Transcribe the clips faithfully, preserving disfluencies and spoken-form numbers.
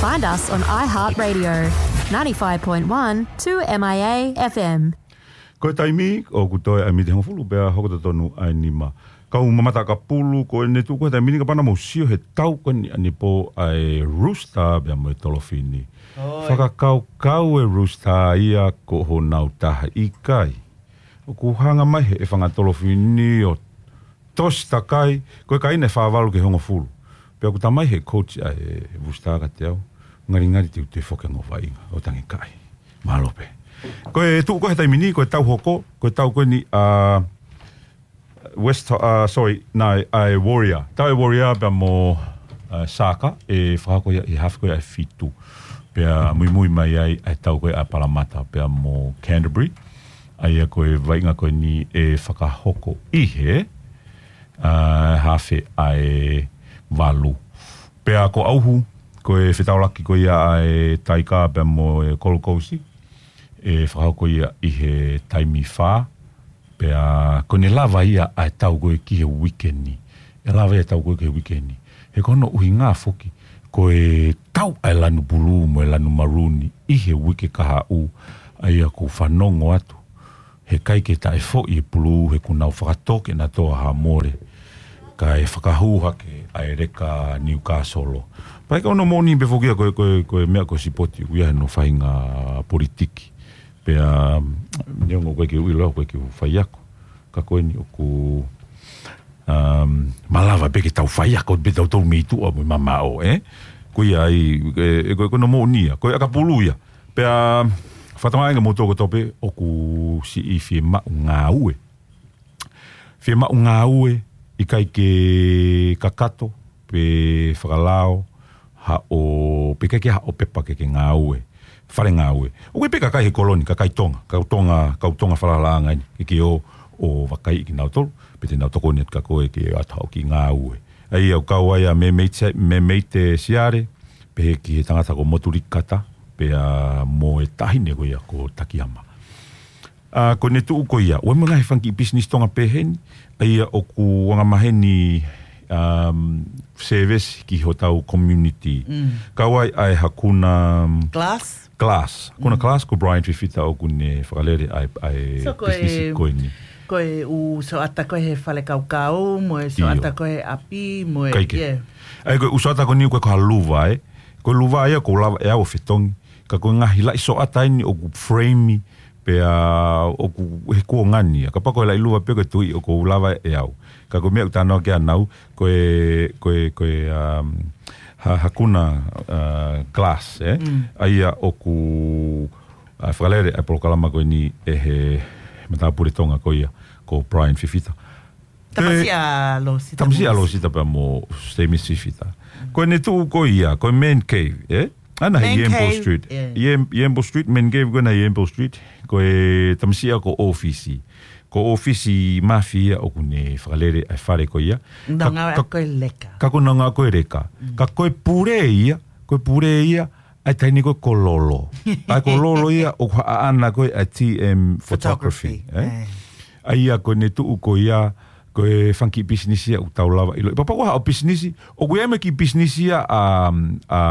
Find us on iHeartRadio, ninety-five point one two M I A F M. Ko e taimi, ʻoku toe ʻa e miniti hongofulu pea hoko totonu ʻa e nima. Kau mamata ʻakapulu, ko ʻene tuʻu ko e taimi ni kapau naʻa mou sio he tau ko eni ʻanepō ʻa e Rooster pea mo e Tolofini. Fakakaukau e Rooster ia ko honau taha ʻikai. ʻOku hanga mai he ʻefanga Tolofini ʻo tosi takai, ko e kaina ʻe fā valu ki he hongofulu. Pea ʻoku talamai he coach ʻa e Rooster kiate au, ngalingali te u toe foki ange ʻo vaʻinga, ʻo tangi kai. Mālō pē. Ko e tuʻu ko e he taimi ni, ko e tau hoko, ko e tau ko eni ʻa West, uh, sorry, nai, ʻa e Warrior. Tau e Warrior pea mo, uh, Saka, ʻe fakahoko ia ʻi he hafe ko ia ʻe fitu. Pea muimui mai ai ʻa e tau ko ia ʻa Parramatta pea mo Canterbury. ʻA ia ko e vaʻinga ko eni ʻe fakahoko ʻi he, uh, hafe ʻa e valu. Pea ko ʻauhu, ko e fetaulaki ko ia ʻa e Taika pea mo e Gold Coast, ʻe fakahoko ia ʻi he taimi fā, pea ko ʻene lava ia ʻa e tau ko ē ki he uike ni. ʻE lava ia tau ko ē ki he uike ni. He ko hono ʻuhinga foki, ko e tau ʻa e lanu pulū mo e lanu maruni ʻi he uike kahaʻu, ʻa ia ʻoku fanongo atu. He ʻikai ke taʻefoʻi e pulū he kuo nau fakatoke na toa ha mole. Kae fakahū hake ʻa e leka Newcastle. Pea ko hono moʻoni pē foki ia ko e, ko e, ko e meʻa ko e sipoti ʻoku ʻi ai hono faʻahinga politiki. Pea, neongo ʻoku ʻikai ke u ʻilo, ʻoku ʻikai ke u faiako. Ka ko eni ʻoku, um, malava pē ke tau faiako, pē tau tau mei tuʻa mo mamaʻo, ē? Ko ia ai, e, e, ko, ko hono moʻoni ia, ko e ʻakapulu ia. Pea, fakatamaʻi ange mo toko tope, ʻoku siʻi fiemaʻu ngāue. Fiemaʻu ngāue, ʻikai ke kakato, pe fakalao, haʻo, pe ʻikai ke haʻo pepa ke ke ngāue, fale ngāue. ʻOku ʻi ai pē kakai he kolo ni, kakai Tonga, kau Tonga, kau Tonga falalaʻanga eni, ke ke ō, ʻo vakaiʻi kinautolu, pe te nau tokoni atu kia koe ke ʻoatu haʻo kiʻi ngāue. ʻA ia ʻoku kau ai ʻa Memeite, Memeite Siale, pehē ki he tangata ko Motulikata, pea mo e taʻahine ko ia ko Takiama. ʻA, ko ʻene tuʻu ko ia, ʻoku ʻi ai mo e ngaahi fanga kiʻi business Tonga pehē ni, ʻa ia ʻoku angamaheni, um, service ki hotau community. Mm. Kau ai ʻa e Hakuna, um, Glass? Glass. Hakuna Mm. Glass, ko Brian Fifita ʻoku ne fakalele ʻa e, ʻa e So, ko business e, ko eni. ko e ʻū soʻata ko ē he fale kaukau, mo e soʻata ʻIo. ko ē he ʻapi, mo e, Kaike. yeah. ʻA ia ko e ʻū soʻata ko eni ko e ko ha luva, ē. Ko e luva ia ʻoku lava ʻe au ʻo fetongi. Ka ko e ngaahi laʻi soʻata eni ʻoku frame, pea ʻoku he kuonga ni ia. Kapau ko e laʻi luva pē ko e tui ʻoku lava ʻe au. Ka ko e meʻa ʻoku talanoa ki ai ʻanau, ko e, ko e, ko e, um, ha-, Hakuna, uh, Glass, ē? Mm. ʻA ia ʻoku, uh, fakalele ʻa e polokalama ko eni ʻe he matāpule Tonga ko ia, ko Brian Fifita. Tamasiʻi ʻa Losita Tamasiʻi ʻa Losita pea mo Stamis Fifita. Ko ʻene tuʻu ko ia, ko e Man Cave, ē? ʻAna he Man Yambo Cave, Street. yeah. Yam-, Yambo Street, Man Cave ko ʻena Yambo Street. Ko e tamasiʻi ia ko ʻōfisi. Ko ʻōfisi mafia ʻoku ne fakalele ʻa e fale ko ia. Nau Ka-, ngāue ka-, ko e leka. ka ko nau ngāue ko e leka. Mm. Ka ko e pule ia, ko e pule ia, ʻa e taʻahine ko ē ko Lolo. ʻA ia ko Lolo ia ʻoku haʻana ko ē ʻa e T M Photography, Photography, ē? ē. ʻA ia ko ʻene tuʻu ko ia, ko e fanga kiʻi business ia ʻoku tau lava ʻilo. Pea kapau ko haʻo business, ʻoku ʻi ai mo e kiʻi business ia ʻa, ʻa,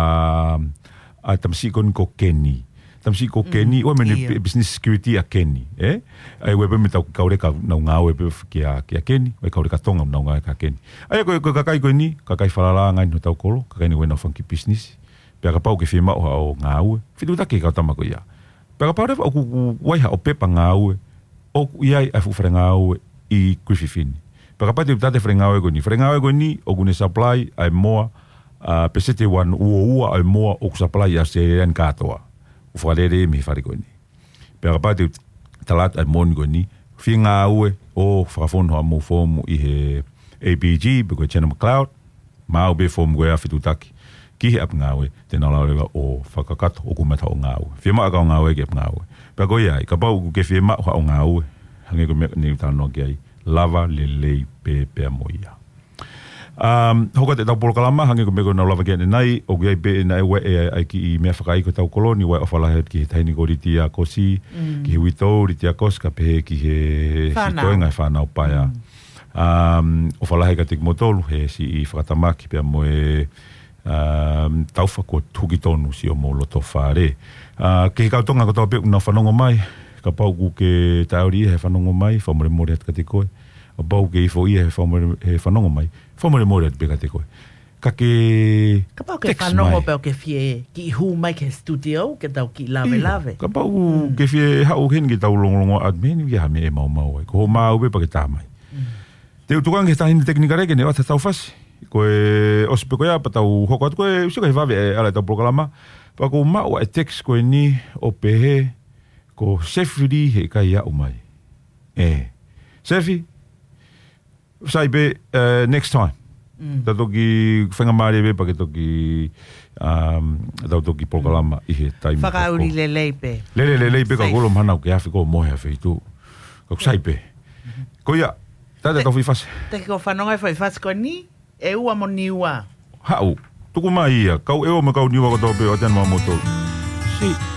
ʻa tamasiʻi ko eni ko Kenny. Tamasiʻi ko Mm, Kenny, ʻoku ʻi ai mo ʻene ʻio. pi-, business security ʻa Kenny, ē? ʻA ia ʻoku ʻi ai pē mo ʻetau kiʻi kau leka nau ngāue pē kia, kia Kenny, ʻo e kau leka Tonga nau ngāue kia Kenny. ʻA ia ko e, ko e kakai ko eni, kakai falalaʻanga eni hotau kolo, kakai eni ko ʻenau fanga kiʻi business. Pea kapau ʻoku ke fiemaʻu haʻo ngāue, fetuʻutaki ki he kau tama ko ia. Pea kapau leva ʻoku, ʻoku ʻi ai haʻo pepa ngāue, ʻoku ʻi ai ʻa e fuʻu fale ngāue ʻi Griffith ni. Pea kapau te u tala atu e fale ngāue ko eni. Fale ngāue ko eni, ʻoku ne supply ʻa e moa, ʻa, peseti ua noa ua ʻo e moa ʻoku supply ʻi ʻAositelēlia ni kātoa. ʻOku fakalele mei he fale ko eni. Pea kapau te u tala atu ʻa e moʻoni ko eni, fie ngāue ʻo fakafonu haʻamou foomu ʻi he A P G, pe ko e Jenner McLeod, maʻu pē foomu ko ia fetuʻutaki ki he ʻapi ngāue, te nau lava leva ʻo fakakakato ʻoku mata ʻo ngāue. Fiemaʻu ʻa e kau ngāue ki he ʻapi ngāue. Pea ko ia ai, kapau ʻoku ke fiemaʻu haʻo ngāue, hangē ko e meʻa naʻa ku talanoa ki ai, lava lelei pē pea mo ia. Um, hoko atu ʻetau polokalama, hangē ko e meʻa ko ē naʻa ku lave ki ai ʻanenai, ʻoku ʻi ai pē ʻena ʻe ua ʻe ai ki he meʻa fakaʻaiʻai ko ʻetau kolo ni, ʻoku ou ʻofa lahi ki he taʻahine ko Litia Kosi, Mm. ki he uitou Litia Kosi, kae pehē ki he Fānau. sitoenga he fānau paea. Mm. Um, ʻofa lahi kiate kimoutolu, he siʻi fakatamaki pea mo e, ʻa, taufa kuo tuki tonu siʻomou loto fale. ʻA, ki he kau Tonga kotoa pē ʻoku nau fanongo mai, kapau ʻoku ke taʻeʻauli he fanongo mai, fakamolemole atu kiate koe. Kapau ʻoku ke ifo ia he fakamole-, he fanongo mai, fakamolemole atu pē kiate koe. Ka ke Kapau ke text fanongo mai. Pē ʻoku ke fie kiʻi hū mai ki he studio, ke tau kiʻi lave Io, lave. Kapau ʻoku ke fie haʻu heni ke tau longolongo atu mei heni, ʻi ai ha meʻa ʻe maumau ai. Ko hoʻo maʻu pē pea ke tā mai. Te u tuku ange ki he taʻahine tekinikale ke ne ʻoatu ha tau fasi. Ko e ʻosi pē ko ia pea tau hoko atu ko e ʻusi ko e vave ʻe ala ʻetau polokalama. Pea ʻoku ou maʻu ʻa e text ko eni ʻo pehē ko Sefi Lī he ʻikai aʻu mai. ʻE. Sefi, sai pē, eh, next time. Tau toki fenga mālie pē pea ke toki, um, tau toki polokalama ʻi he taimi Fakaʻuli hoko. Lelei pē. Lele, lelei pē ka Safe. Kolo mahana ʻoku ke afi ko mohe a feitu. Ka ʻoku sai pē. Ko ia, tata Te-, tau fai fasi. Te ko fanongo e fai fasi ko ni, ʻe ua mo Niua. Haʻu, tuku mai ia, kau ʻEua mo kau Niua kotoa pē ʻoatu ʻa moutolu. Si.